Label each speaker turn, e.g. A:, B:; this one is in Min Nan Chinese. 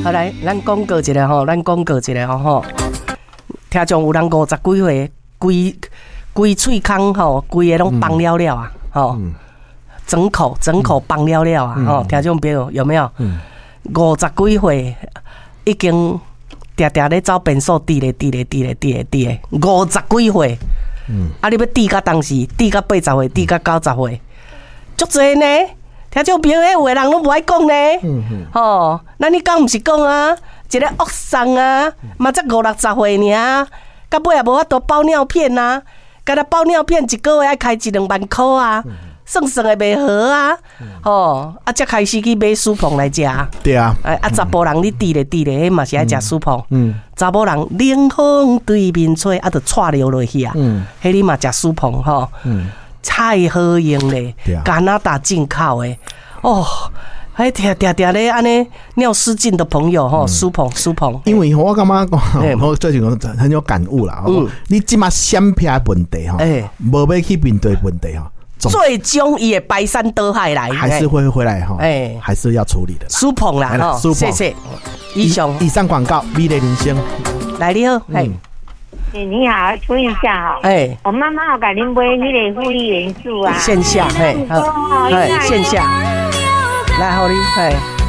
A: 好來，咱廣告一下吼，咱廣告一下吼吼。聽眾有人50幾歲，規規喙空吼，規个攏崩了了啊，吼，整口整口崩了了啊，吼，聽眾朋友有沒有？50幾歲已經定定咧走便所，滴咧滴咧滴咧滴咧滴咧，五十幾歲，啊，你欲滴到當時，滴到80歲，滴到90歲，足濟呢。聽眾朋友，彼有的人攏無愛講呢，吼，咱彼工毋是講啊，一个惡送啊，嘛才五六十歲爾，到尾也無法度包尿片啊，干焦包尿片一個月愛開一兩萬箍啊，算算會袂好啊，吼，啊，才開始去買舒膨來食。
B: 對啊，
A: 哎，啊，查埔人你滴咧滴咧，彼嘛是愛食舒膨。查某人冷風對面吹，啊，就掣尿落去啊。彼你嘛食舒膨吼。太好用咧，加拿大進口的哦，彼定定定咧按呢尿失禁的朋友吼，舒膨舒膨。
B: 因為我感覺講，我最近很有感悟啦。你這馬閃避的問題吼，無欲去面對問題吼，
A: 最終伊會排山倒海來，
B: 還是會回來吼，哎，還是要處理的。
A: 舒膨啦，吼，謝謝。以上
B: 以上廣告，美麗人生。
A: 來你好，嘿。
C: 欸，你好，請問一下哈，欸，我媽媽有共恁買彼个護理元素啊，
A: 線下，嘿，好，嘿，線下，來，予你，嘿。